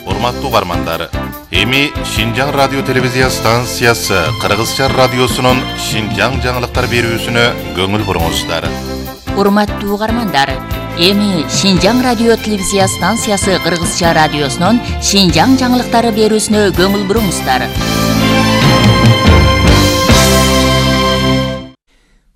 урматтуу угармандар, эми Шинжаң радио телевизия станциясы Кыргызча радиосунун Шинжаң жаңылыктар берүүсүнө көңүл буруңуздар. Урматтуу угармандар, эми Шинжаң радио телевизия станциясы Кыргызча радиосунун Шинжаң жаңылыктары берүүсүнө көңүл буруңуздар.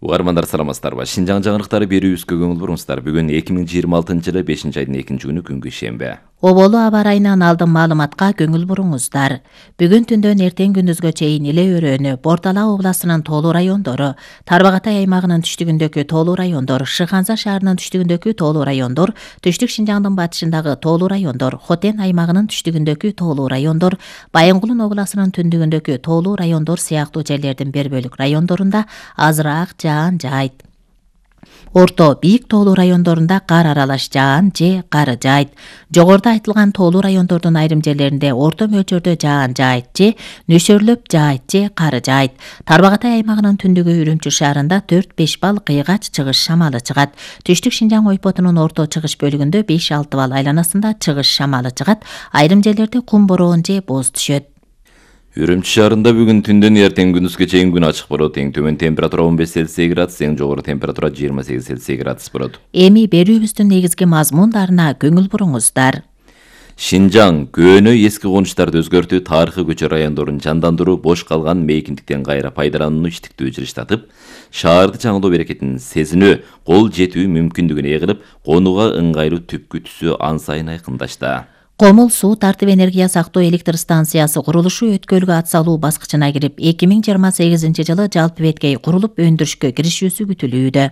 Угармандар саламатсыздарбы? Шинжаң жаңылыктары берүүбүзгө көңүл буруңуздар. Бүгүн 2026-жылы 5-айдын 2-күнү күнгү шембе. Оболу аба ырайынан алдын маалыматка көңүл буруңуздар. Бүгүн түндөн эртең күндүзгө чейин эле өрөөнү, Бордала областынын тоолуу райондору, Тарбагатай аймагынын түштүгүндөгү тоолуу райондор, Шыханза шаарынын түштүгүндөгү тоолуу райондор, Түштүк Шинжаңдын батышындагы тоолуу райондор, Хотен аймагынын түштүгүндөгү тоолуу райондор, Байынгулун областынын түндүгүндөгү тоолуу райондор сыяктуу жерлердин бир бөлүк райондорунда азыраак жаан жаайт. Орто бийик тоолуу райондорунда кар аралаш жаан же кар жаайт. Жогоруда айтылган тоолуу райондордун айрым жерлеринде орто мөлчөрдө жаан жаайт же нөсөрлөп жаайт же кар жаайт. Тарбагатай аймагынын түндүгү Үрүмчү шаарында 4-5 бал кыйгач чыгыш шамалы чыгат. Түштүк Шинжаң ойпотунун орто чыгыш бөлүгүндө 5-6 бал айланасында чыгыш шамалы чыгат. Айрым жерлерде кум бороон же боз түшөт. Үрүмчү шаарында бүгүн түндөн эртең күндүзгө чейин күн ачык болот. Эң төмөн температура 15 Цельсий градус, эң жогору температура 28 Цельсий градус болот. Эми берүүбүздүн негизги мазмундарына көңүл буруңуздар. Шинжаң көөнө эски конуштарды өзгөртүү, тарыхый көчө райондорун жандандыруу, бош калган мейкиндиктен кайра пайдаланууну иштиктүү жылыштатып, шаарды жаңылоо берекетин сезинүү, кол жетүү мүмкүндүгүн эгилип, конууга ыңгайлуу түпкү түсү ан сайын айкындашты. Комул суу тартып энергия сактоо электр станциясы курулушу өткөлгө ат салуу баскычына кирип, 2028-жылы жалпы беткей курулуп өндүрүшкө киришүүсү күтүлүүдө.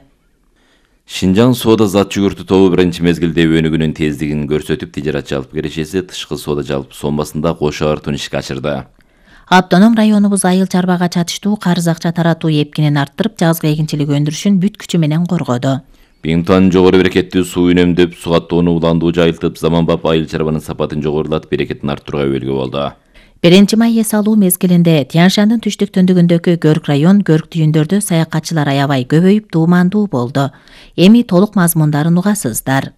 Шинжаң соода зат жүгүртүү тобу биринчи мезгилде өнүгүүнүн тездигин көрсөтүп, тижарат жалпы кирешеси тышкы соода жалпы сомасында кошо артууну ишке ашырды. Автоном районубуз айыл чарбага чатыштуу карыз акча таратуу эпкинин арттырып, жазгы эгинчилик өндүрүшүн бүт күчү менен коргоду. Бийимтан жогору берекеттүү суу үнөмдөп, сугаттоону уландуу жайылтып, заманбап айыл чарбанын сапатын жогорулатып, берекетин арттырууга өбөлгө болду. 1-май эс алуу мезгилинде Тянь-Шандын түштүк түндүгүндөгү Көрк район, Көрк түйүндөрдө саякатчылар аябай көбөйүп, дуумандуу болду. Эми толук мазмундарын угасыздар.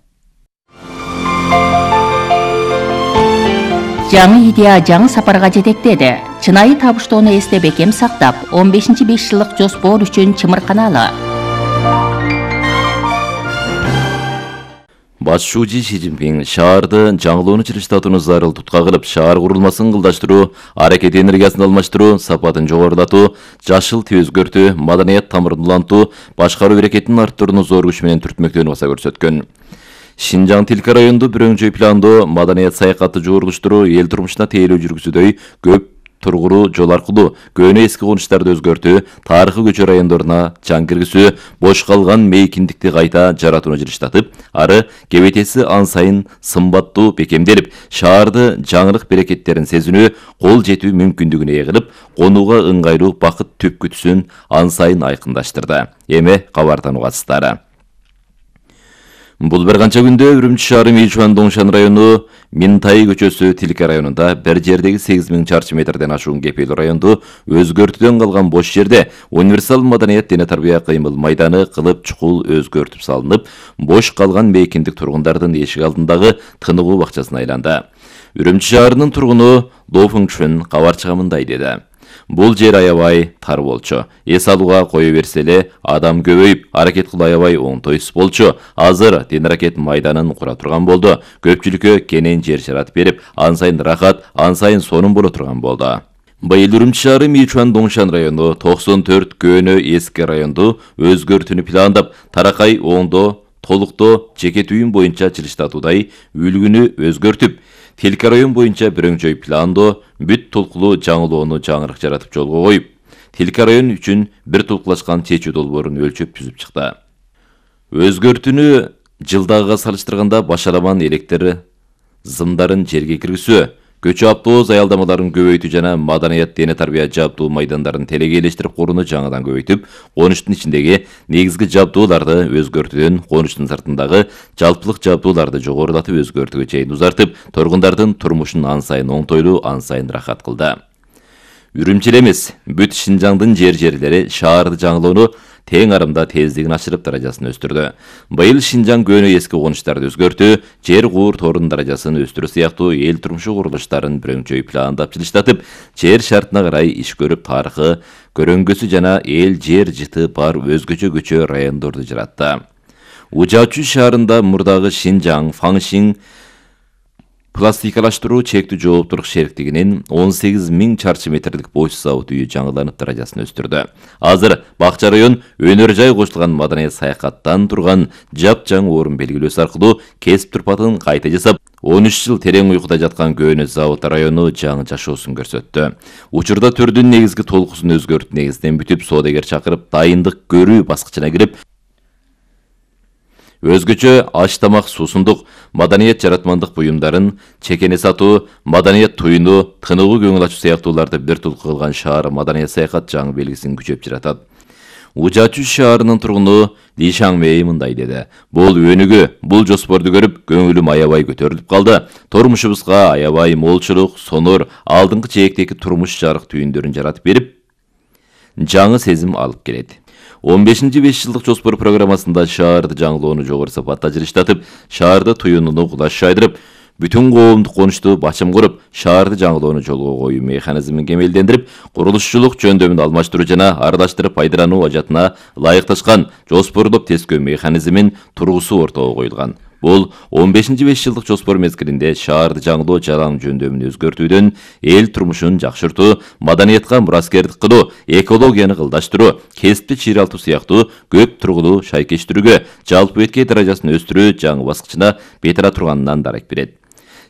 Жаңы идея жаңы сапарга жетектеди. Чынайы табыштоону эсте бекем сактап, 15-5 жылдык жоспор үчүн чымырканалы. Башчы Си Цзиньпин шаарды жаңылоону жылыштатууну зарылтутка кылып, шаар курулмасын кылдаштыруу, аракет энергиясын алмаштыруу, сапатын жогорулатуу, жашыл тип өзгөртүү, маданият тамырын улантуу, башкаруу берекетин арттырууну зор күч менен түртмөктөөнү баса көрсөткөн. Шинжаң Тилка районду бир өңчөй пландоо, маданият саякатты жогорулуштуруу, эл турмушуна тейлөө жүргүзүүдөй көп тургуруу, жол аркылуу көөнө эски конуштарды өзгөртүү, тарыхый көчө райондоруна жан киргизүү, бош калган мейкиндикти кайта жаратууну жылыштатып, ары кебетеси ан сайын сымбаттуу бекемделип, шаарды жаңылык берекеттерин сезинүү, кол жетүү мүмкүндүгүнө эгилип, конууга ыңгайлуу бакыт түпкү түсүн ан сайын айкындаштырды. Эми кабардан угасыздар. Бул бир канча күндө Үрүмчү шаары Мичуан Доңшан району Минтай көчөсү Тилка районунда бир жердеги 8000 чарчы метрден ашуун кепелүү районду өзгөртүүдөн калган бош жерде универсал маданият дене тарбия кыймыл майданы кылып чукул өзгөртүп салынып, бош калган мейкиндик тургундардын эшик алдындагы тыныгуу бакчасына айланды. Үрүмчү шаарынын тургуну До Фыңчүн кабарчыга мындай деди. Бул жер аябай тар болчу. Эс алууга кое берсе эле адам көбөйүп, аракет кылуу аябай оңтойсуз болчу. Азыр тен аракет майданын кура турган болду. Көпчүлүккө кенен жер жаратып берип, ан сайын рахат, ан сайын сонун боло турган болду. Быйыл Үрүмчү шаары Мичуан Доңшан району 94 көөнө эски районду өзгөртүүнү пландап, таракай оңдоо, толуктоо, жеке түйүн боюнча жылыштатуудай үлгүнү өзгөртүп, Тилка район боюнча бир өңчөй пландоо, бүт толкулуу жаңылоону жаңырык жаратып жолго коюп, Тилка район үчүн бир толкулашкан чечүү долбоорун өлчөп түзүп чыкты. Өзгөртүүнү жылдагыга салыштырганда башаламан электр зымдарын жерге киргизүү, көчө автобус аялдамаларын көбөйтүү жана маданият дене тарбия жабдуу майдандарын телегейлештирип курууну жаңыдан көбөйтүп, конуштун ичиндеги негизги жабдууларды өзгөртүүдөн конуштун сыртындагы жалпылык жабдууларды жогорулатып өзгөртүүгө чейин узартып, тургундардын турмушун ан сайын оңтойлуу, ан сайын рахат кылды. Үрүмчү эмес, бүт Шинжаңдын жерлери шаарды жаңылоону тең арымда тездигин ашырып даражасын өстүрдү. Быйыл Шинжаң көөнө эски конуштарды өзгөртүү, жер куур торун даражасын өстүрүү сыяктуу эл турмушу курулуштарын бүрөңчөй пландап жылыштатып, жер шартына карай иш көрүп тарыхы, көрөңгөсү жана эл жер жыты бар өзгөчө көчө райондорду жаратты. Ужаачу шаарында мурдагы Шинжаң, Фаңшин пластикалаштыруу чектүү жооптулук шериктигинин 18.000 чарчы метрлик бош завод үйү жаңыланып даражасын өстүрдү. Азыр Бакча район өнөр жай кошулган маданият саякаттан турган жапжаң орун белгилөөсү аркылуу кесип турпатын кайта жасап, 13 жыл терең уйкуда жаткан көөнө завод району жаңы жашоосун көрсөттү. Учурда төрдүн негизги толкусун өзгөртүп негизден бүтүп, соодагер чакырып, дайындык көрүү баскычына кирип, өзгөчө аш тамак, суусундук, маданият жаратмандык буюмдарын, чекене сатуу, маданият туюну, тыныгуу көңүл ачуу сыяктууларды бир тулку кылган шаар маданият саякат жаңы белгисин күчөп жаратат. Ужаачу шаарынын тургуну Ли Шаңмэй мындай деди. Бул өнүгүү, бул жоспорду көрүп, көңүлүм аябай көтөрүлүп калды. Турмушубузга аябай молчулук, сонор, алдыңкы чээктеги турмуш жарык түйүндөрүн жаратып берип, жаңы сезим алып келет. 15-5 жылдык жоспор программасында шаарды жаңылоону жогору сапатта жылыштатып, шаарды туюнуну кулаш шайдырып, бүтүн коомдук конушту бачым куруп, шаарды жаңылоону жолго коюу механизмин кемелдендирип, курулушчулук жөндөмүн алмаштыруу жана аралаштырып пайдалануу ажатына ылайыкташкан жоспорлоп тескөө механизмин тургусу ортого коюлган. Бул 15-5 жылдык жоспор мезгилинде шаарды жаңылоо жалаң жөндөмүн өзгөртүүдөн эл турмушун жакшыртуу, маданиятка мураскердик кылуу, экологияны кылдаштыруу, кесипти чыйралтуу сыяктуу көп тургулуу шайкештирүүгө, жалпы беткей даражасын өстүрүү жаңы баскычына бет ала турганынан дарек берет.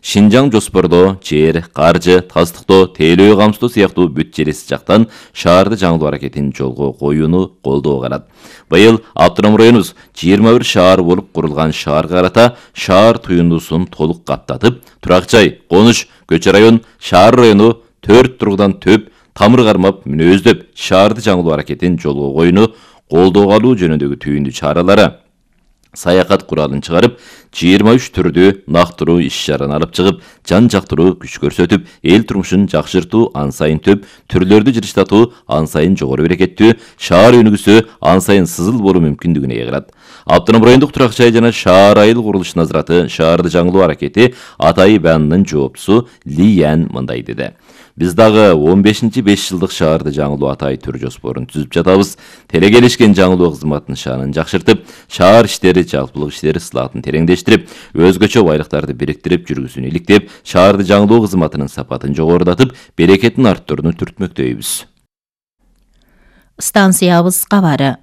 Шинжаң жоспордо жер, каржы, тастыктоо, тейлөө камсыздоо сыяктуу бүт жереси жактан шаарды жаңылоо аракетин жолго коюуну колдоо карат. Быйыл автоном районубуз 21 шаар болуп курулган шаарга карата шаар туюндусун толук каптатып, турак жай, конуш, көчө район, шаар району 4 тургудан төп, тамыр кармап, мүнөздөп, шаарды жаңылоо аракетин жолго коюуну колдоого алуу жөнүндөгү түйүндүү чаралары, саякат куралын чыгарып, 23 түрдүү нактыруу иш-чараны алып чыгып, жан жактыруу күч көрсөтүп, эл турмушун жакшыртуу ан сайын төп, түрлөрдү жылыштатуу ан сайын жогору берекеттүү, шаар өнүгүүсү ан сайын сызыл болуу мүмкүндүгүнө ээ кылат. Автоном райондук турак жай жана шаар айыл курулуш назараты шаарды жаңылоо аракети Атай Банынын жооптусу Ли Ян мындай деди. Биз дагы 15-5 жылдык шаарды жаңылоо Атай түр жоспорун түзүп жатабыз. Телегелешкен жаңылоо кызматынын шаанын жакшыртып, шаар иштери, жалпылык иштери сылаатын тереңдештирип, өзгөчө байлыктарды бириктирип жүргүзүүнү иликтеп, шаарды жаңылоо кызматынын сапатын жогорулатып, берекетин арттырууну түртмөктөйбүз. Станциябыз кабары.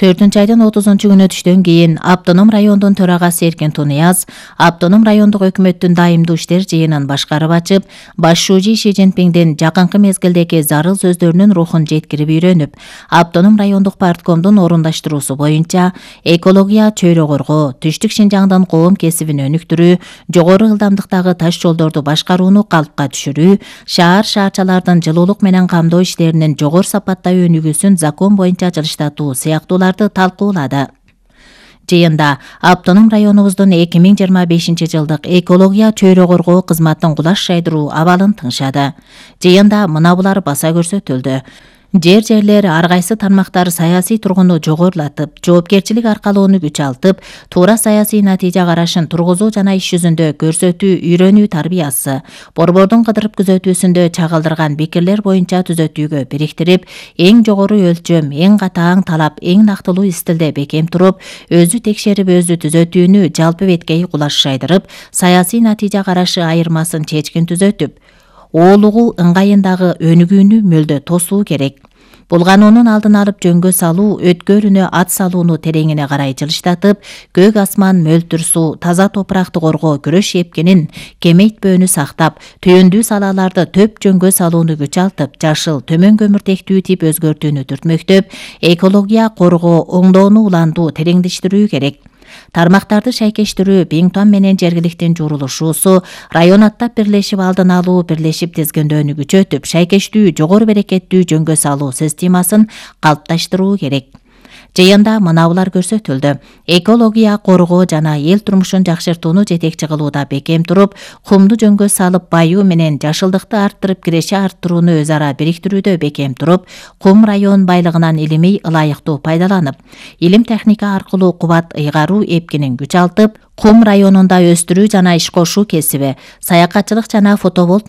4-айдын 30-күнү түштөн кийин Автоном райондун төрагасы Эркин Тунияз Автоном райондук өкмөттүн дайымдуу иштер жыйынын башкарып ачып, баш шужи Ши Цзиньпиңдин жакынкы мезгилдеги зарыл сөздөрүнүн рухун жеткирип үйрөнүп, Автоном райондук парткомдун орундаштыруусу боюнча экология, чөйрө коргоо, түштүк Шинжаңдын коом кесибин өнүктүрүү, жогору ылдамдыктагы таш жолдорду башкарууну калпка түшүрүү, шаарчалардын жылуулук менен камдоо иштеринин жогору сапатта өнүгүүсүн закон боюнча жылыштатуу сыяктууларды талкуулады. Жыйында Автоном районубуздун 2025 жылдык экология чөйрө коргоо кызматын кулаш шайдыруу абалын тыңшады. Жыйында мына булар баса көрсөтүлдү. Жерлер ар кайсы тармактар саясий тургуну жогорулатып, жоопкерчилик аркалоону күчалтып, туура саясий натыйжа карашын тургузуу жана иш жүзүндө көрсөтүү, үйрөнүү тарбиясы, борбордун кыдырып күзөтүүсүндө чагылдырган пикирлер боюнча түзөтүүгө бириктирип, эң жогору өлчөм, эң катаң талап, эң нактылуу стилде бекем туруп, өзү текшерип, өзү түзөтүүнү жалпы беткей кулаш шайдырып, саясий натыйжа карашы айырмасын чечкин түзөтүп, оолугу ыңгайындагы өнүгүүнү мөлдө тосуу керек. Бул канунун алдын алып жөнгө салуу, өткөрүнө ат салууну тереңине карай жылыштатып, көк асман, мөлтүр суу, таза топуракты коргоо күрөш эпкенин кемейтпөөнү сактап, түйүндүү салааларды төп жөнгө салууну күчалтып, жашыл, төмөн көмүртектүү тип өзгөртүүнү түртмөктөп, экология коргоо, оңдоону улантуу, тереңдештирүү керек. Тармактарды шайкештирүү, Биңтуан менен жергиликтин журулушуусу, район аттап бирлешип алдын алуу, бирлешип тизгиндөөнү күчөтүп, шайкештүү, жогору берекеттүү жөнгө салуу системасын калыпташтыруу керек. Жыйында мынабулар көрсөтүлдү. Экология коргоо жана эл турмушун жакшыртууну жетекчи кылууда бекем туруп, кумду жөнгө салып байуу менен жашылдыкты арттырып киреше арттырууну өз ара бириктирүүдө бекем туруп, кум район байлыгынан илимий ылайыктуу пайдаланып, илим техника аркылуу кубат ыйгаруу эпкинин күч алтып, кум районунда өстүрүү жана иш кошуу кесиби, саякатчылык жана фотоволт